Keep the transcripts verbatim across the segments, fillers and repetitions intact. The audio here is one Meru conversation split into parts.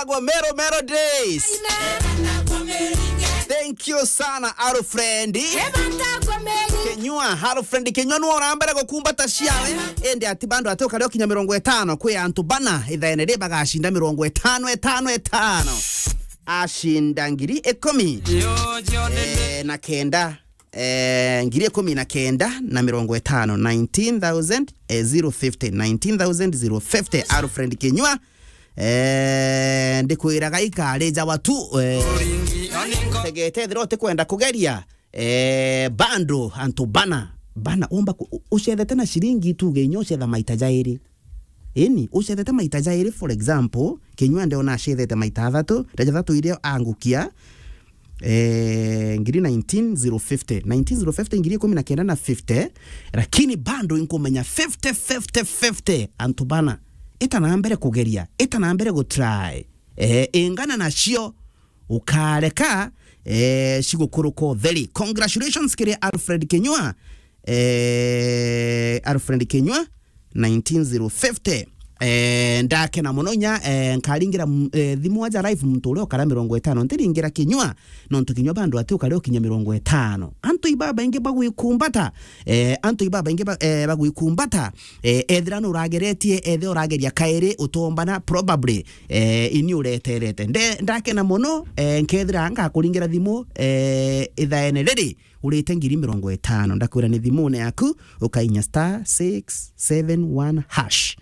Agwa Mero Mero Days. Thank you sana, Alfred Kinyua. Alfred Kinyua nwe urambere gukumbata ciawe. Indi ati bandu ati ukari ukinya mirongo itano kwi antu bana ithaene ri bagacinda mirongo itano, itano, itano. Acinda ngiri ikumi. Eh, na kenda. Eh, ngiri ikumi na kenda na mirongo itano, nineteen thousand, eh, zero fifty, nineteen thousand zero fifty, Alfred Kinyua. Eh, ndikwiraga ikari jawa tu, eh, tegete ethira utikwenda kugeria, eh, bando antu bana, bana, umba ku-, u-, ucethete na ciringi tuge inya ucetha maita jairi. Ini, ucethete maita jairi, for example, Kinyua ndeona acethete maita athatu, rija thatu iria angukia, eh, ngiri nineteen zero fifty. Nineteen zero fifty, ngiri ikumi na kenda na fifty, lakini bando inkumenya fifty, fifty, fifty, antu bana. Ita na mbere kugeria, ita na mbere gutry. Eh, ingana nacio, ukareka, eh, cigukuruka utheri. Congratulations kiri Alfred Kinyua. Eh, Alfred Kinyua, nineteen zero fifty. Eh, ndakena muno nya, eh, nkaringira m-, eh, thimu aja live muntu uria ukara mirongo itano. Ntiringira Kinyua, nontu Kinyua bando ati ukari ukinya mirongo itano. Antu ibabaingi bagwikumbata, eh, antu ibabaingi ba-, eh, bagwikumbata, eh, ethira nurageretie, ethira urageria kairi utombana, probably, eh, ini ureterete. Nde-, ndakena muno, eh, nkethira ngakuringira thimu, eh, ithaene riri, urite ngiri mirongo itano. Ndakwira ni thimune yaku, ukainya star six seven one hash.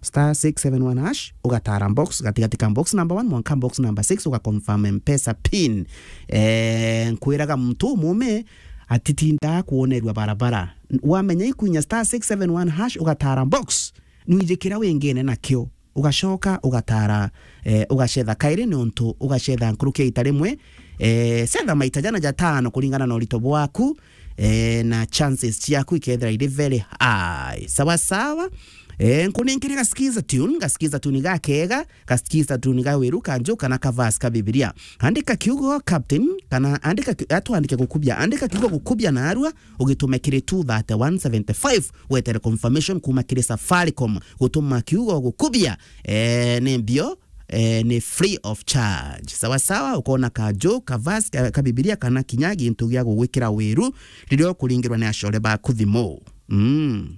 Star six seven one hash, ugatara box, gatigati ka box number one, mwanka box number six, ugaconfirm M-Pesa pin. Eh, nkwiraga muntu umume atitinda kuonerua barabara. Wamenya ikwinya star six seven one hash, ugatara box, nwijikira wingine nakio. Ugacoka ugatara, eh, ugacetha kairi niuntu ugacetha nkuruki ya ita rimwe, eh, cetha maita jana jatano kuringana na urito bwaku, eh, na chances ciaku ikethira iri very high. Sawa sawa. Eh, nkuninkiri gaskiza tune, gaskiza tune gakega, gaskiza tune ga wiru kanju kana ka verse ka Bibilia. Andika kiugo captain, kana andika ki-, atwandike gukubia, andika kiugo gukubia narua, ugitume kiri two thirty one seventy five, wetere confirmation kuma kiri Safaricom. Gutuma kiugo gukubia, eh, ni mbio, eh, ni free of charge. Sawa sawa, ukona kanju, ka verse, ka, ka Bibilia, kana kinya gintu gia gugwikira wiru, riria ukuringirwa ni acore baku thimu. Mm.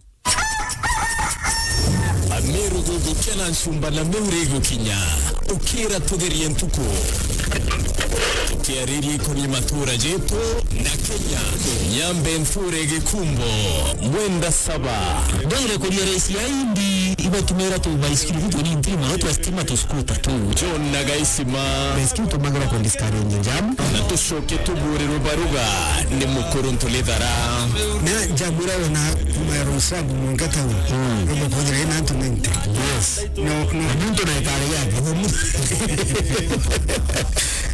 Ameru gugukia na ncumba na miuri igukinya. Ukira tugerie ntuku. Tukiariria ikoni matura jetu na Kenya. Nyambe nthure gikumbo. Mwenda saba. Ndwire kuria raisi ya indi ibatumira tu baisikiri tu ni ntiri muno twa stima tu skuta tu. John na Gaisima. Baisikiri tumagira kwa discourage jam. Na tucoke tuburirwe baruga ni mukuru ntulithara. Na jamura wona kuma Rosabu mwanka tauni. Mm. Robo kujira ina antu ninety. Yes. No, no, muntu na itari yake.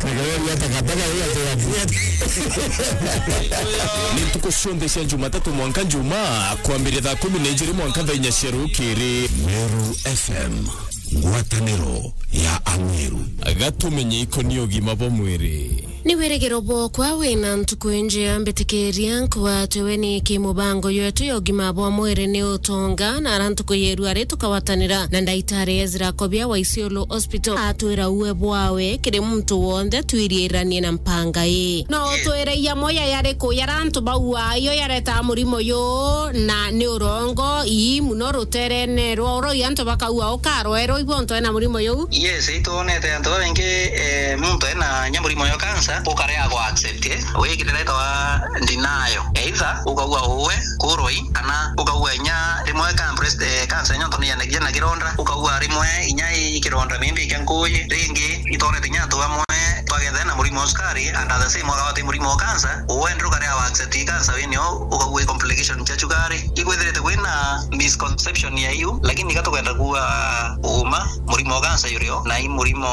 Nagawari ya takataka ya takataka. Ni ntuku cionthe cia Jumatatu mwanka Juma, kwambiria thaa kumi na ijiri mwanka thaa inya cia rukiri. Meru F M, ngwataniro ya Ameru. Gatumenye ikoni ugima bwa mwiri. Ni wirigiro bwokwa wina ntuku injea, mbitikiria nkwatwe we ni ki mubango yetu ya ugima bwa mwiri ni utonga, na ara ntuku yeru ari tukawatanira na ndaitari Ezra Kobia wa Isiolo Hospital atwira uwe bwawe kiri muntu wonthe twiriiranie na mpanga ii. No utwire iya moya yari ku yara antu bauaa iyo yareta murimo yu, na ni urongo ii muno ruterene rwa uro antu bakaua ukarwerwa ibo ntu ena murimo yu? Yes, itwonete antu babaingi, eh, muntu ena nya murimo yo cancer, ukarea gwa accept, eh, wikirira itawa denial. Either ukaua uwe kuroi, kana ukaua inya rimwe ka breast, eh, cancer nyo ntu ni yanagia na kironda, ukaua rimwe inya i kironda maybe kia nguji. Ringi, itwonete inya antu bamwe twagethana na murimo wa sukari, and at the same wakawate murimo wa cancer, uwe ndru karea wa accept cancer wini o, ukaua complication cia sukari. Ikwithirite kwina misconception ya iu, lakini ka tukwenda kuua uma, murimo wa cancer yurio, na i murimo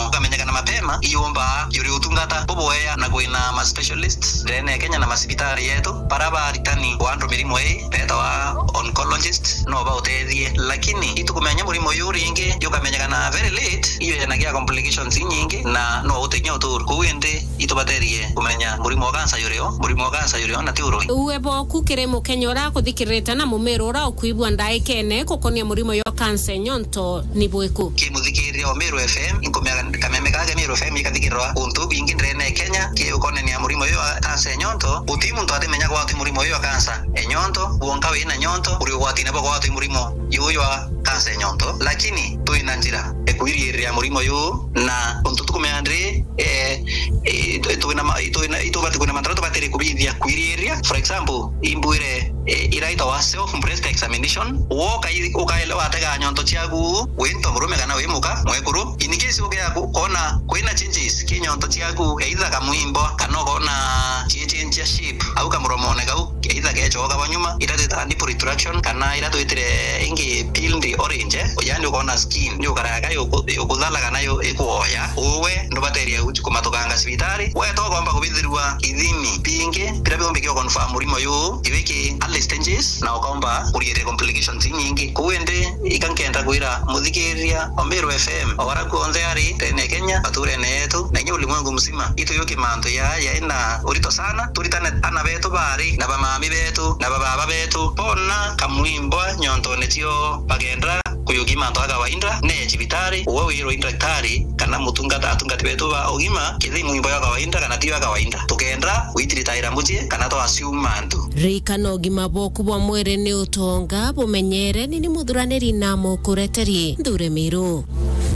ukamenyekana mapema, iyumba yuri utungata bubuea, na kwina ma specialist ndene ya Kenya na masibitari yetu, bara baritani wa andu mirimo ii betawa oncologist, no bautethie. Lakini itukumenya murimo yu ringi, yukamenyekana very late, iyo yanagia complications inyingi, na no utinya uturu. Kuu indi itubaterie kumenya murimo wa cancer yurio, murimo wa cancer yurio, na ti uroi. Uwe boku kiri Mukenya uria akuthikirite na mumero uria ukwigua ndaikene gukonia murimo yo cancer nyonto ni bwiku? Ki muthi- Kiria o Meru F M, inkumea kameme kake Meru F M ikathikirwa untu bingi ndene ya Kenya, ki ukonania murimo uyu wa kansa ya nyonto, guti muntu atimenya gwati murimo uyu wa kansa ya nyonto, wonka wina nyonto, uri ugwatine bwa gwati murimo uyu wa kansa ya nyonto, lakini twina njira ya kwiriria murimo uyu, na untu tukumea ndi, eh, eh, twina ma-, twina, itubati kwina mantara tubatiri kubithia kwiriria. For example, imbwire, eh, ira itawa self breast examination, woka i-, ukaelewa atega nyonto ciaku, wi nto murume kana wi muka, mwekuru. In case ukea ku-, kona kwina changes ki nyonto ciaku, either kamwimbo, kana ukona ciechenjia shape, au kamuromone kau, either gechoka bwa nyuma, ira twitaga nipple retraction, kana ira twitire ingi peeled orange, eh? Yani ukona skin, ni ukaraga yo ku-, yo kuthalaga nayo ikuoya. Uwe ndubateria uchi kumatukanga cibitari. We to ukomba kubithirwa ithimi bingi, bira biumbi kio confirm murimo uyu, iwiki early stages, na ukomba kuriiria complications inyingi. Kuu indi, ika nkenda kwira muthikiria o Meru F M, o wara kuonthe ari, ndene ya Kenya, maturene yetu, na inya ulimwengu mzima, ituyuki mantu ya, yaina urito sana, turitane ana betu bari, na bamami betu, na bababa betu, bona kamwimbwa nyontone cio, bagenda kuyuki mantu a kawaida, ne cibitari, uwe wirwe i ndaktari, kana mutungata, atungati betu ba ugima, kithi mwimbo ya kawaida, kana ti ya kawaida. Tukenda witiritaira mucii, kana twa assume mantu. Ririkana, ugima bwaku bwa mwiri ni utonga, bumenyere, ni ni muthuraniri na mukureteri Nthure Miru.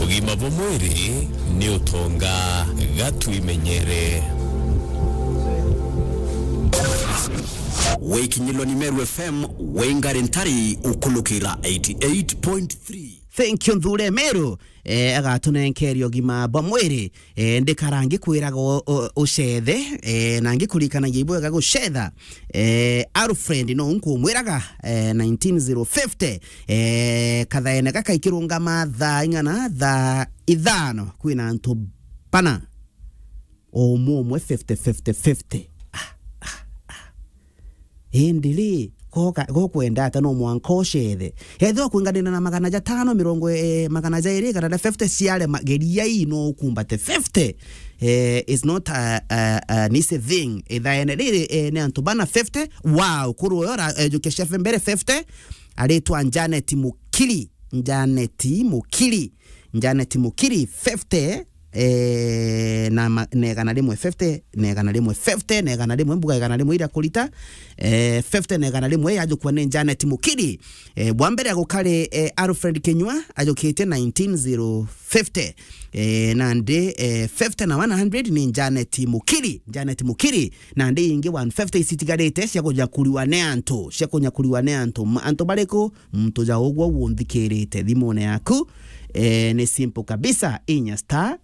Ugima bwa mwiri ni utonga, gatwimenyere. Wikinyilwa ni Meru F M, wingari ntari ukulukira eighty eight point three. Thank you, Nthure Miru. Eh, agatunenkeria ugima bwa mwiri. Eh, ndikara ngikwiraga u-, u-, ucethe, eh, na ngikurikanagia ibwega gucetha. Eh, Alfred no nkumwiraga, eh, nineteen zero fifty, eh, kathaene gaka ikirungama thaa ing'ana, thaa ithano, kwina antu bana. O umwe umwe fifty, fifty, fifty. Ah, ah, ah. Indi ri, goka, gokwenda ata no mwanka ucethe? Ethirwa kwinganira na magana jatano, mirongo, eh, magana jairi, kana na fifty ciarema, geria ii no ukumbate fifty. Eh, is not a, a, an easy thing. Ithaene riri, eh, ni antu bana fifty. Wow, kuru uyo ra, eh, jukia chef mbere fifty. Aritwa Janet Mukiri. Janet Mukiri. Janet Mukiri, fifty, eh, na ma-, na igana rimwe fifty, na igana rimwe fifty, na igana rimwe, mbuga igana rimwe iria kurita, eh, fifty na igana rimwe yajukua ni Janet Mukiri. Eh, bwa mbere agukari, eh, Alfred Kinyua, ajukitie nineteen zero fifty. Eh, nandi, eh, fifty na one hundred ni Janet Mukiri, Janet Mukiri. Nandi ingi one fifty icitigarite cia kunyakurirwa ni antu, cia kunyakurirwa ni antu. Ma-, antu bariku? Muntu ja ugwo unthikirite thimune yaku, eh, ni simple kabisa, inya star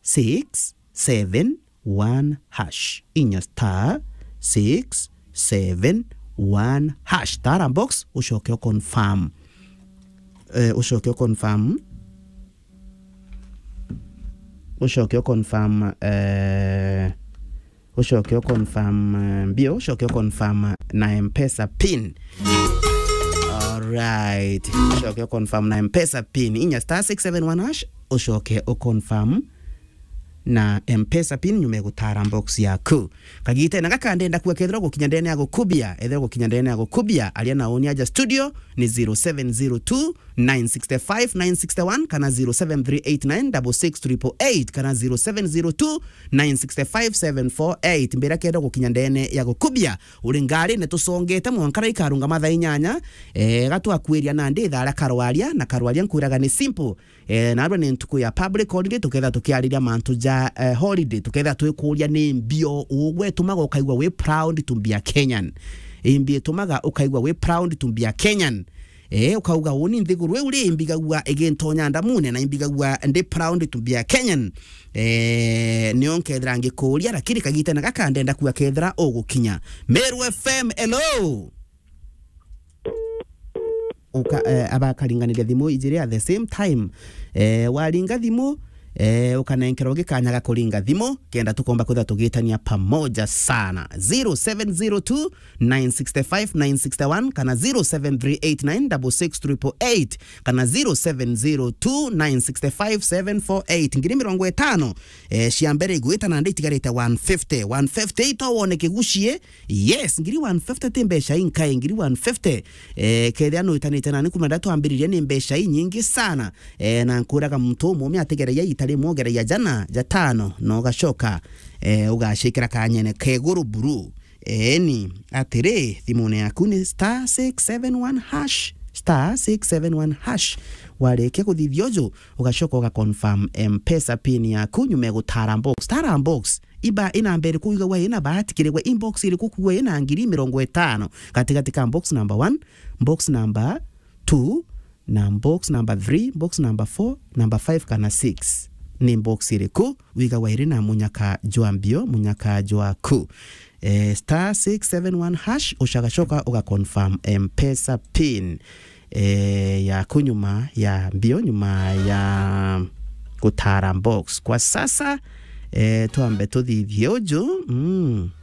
six seven one hash. Inya star six seven one hash. Tara box, ucoke u confirm. Eh, ucoke u confirm. Ucoke u confirm, eh, ucoke u confirm, eh, mbio, ucoke u confirm na M-Pesa pin. Alright. Ucoke u confirm na M-Pesa pin. Inya star six seven one hash, ucoke u confirm na M-Pesa pin nyuma ya gutara box yaku. Kagitene gaka ndenda kuga kethirwa gukinya ndene ya gukubia, ethirwa gukinya ndene ya gukubia, aria na uni aja studio ni zero seven zero two, nine six five, nine six one, kana zero seven three eight nine double six triple eight, kana zero seven zero two, nine six five, seven four eight. Mbira kenda gukinya ndene ya gukubia, uri ngari ni tusongete mwanka ra ikarunga mathaa inyanya, eh, gatwakwiria nandi ithaa ria karwaria, na karwaria nkwiraga ni simple. Eh, narua ni ntuku ya public holiday, tuketha tukiariria mantu ja, eh, holiday, tuketha twikuria ni mbio ugwe itumaga ukaigua wi proud to be a Kenyan. Imbi itumaga ukaigua wi proud to be a Kenyan. Eh, ukauga, "Uni nthiguru iu ri, imbigagua igintonya ndamune na imbigagua ndi proud to be a Kenyan." Eh, nio nkethira ngikuria, lakini kagitene gaka ndenda kuga kethira ugukinya. Meru F M, hello. Uka, eh, abakaringaniria thimu ijiri at the same time. Eh, waringa thimu, Eh, ukanenkerwa gikanya ga kuringa thimu, kenda tukomba kwithira tugitania pamoja sana. Zero seven zero two, nine six five, nine six one, kana zero seven three eight nine double six triple eight, kana zero seven zero two, nine six five, seven four eight. Ngiri mirongo itano, eh, cia mbere igwita, na ndi itigarite one fifty. One fifty ito wone kigucie. Yes, ngiri one fifty ti mbeca inkai, ngiri one fifty. Eh, kethira nwitanite nani kuma nda twambiririe ni mbeca inyingi sana. Eh, na nkuraga muntu umume atigereria ita rimwe, ugereria jana, jatano, na ugacoka, eh, ugacikira kanyene keguru buru. Eeni, atiri, thimune yaku ni star six seven one hash, star six seven one hash. Warikia kuthithia uju, ugacoka uga confirm M-Pesa pin yaku nyuma ya gutara box. Tara box. Iba ina mbere kuigagwa ina bahati kirigwa inbox iri kukugwa ina ngiri mirongo itano. Gatigati ka box number one, box number two, na box number three, box number four, number five kana six. Ni box iriku wigagwa iri na munyaka jwa mbio, munyaka jwaku? Eh, star six seven one hash, ucagacoka uga confirm M-Pesa pin, eh, yaku nyuma ya mbio, nyuma ya gutara box. Kwa sasa, eh, twambe tuthithie uju. Mm.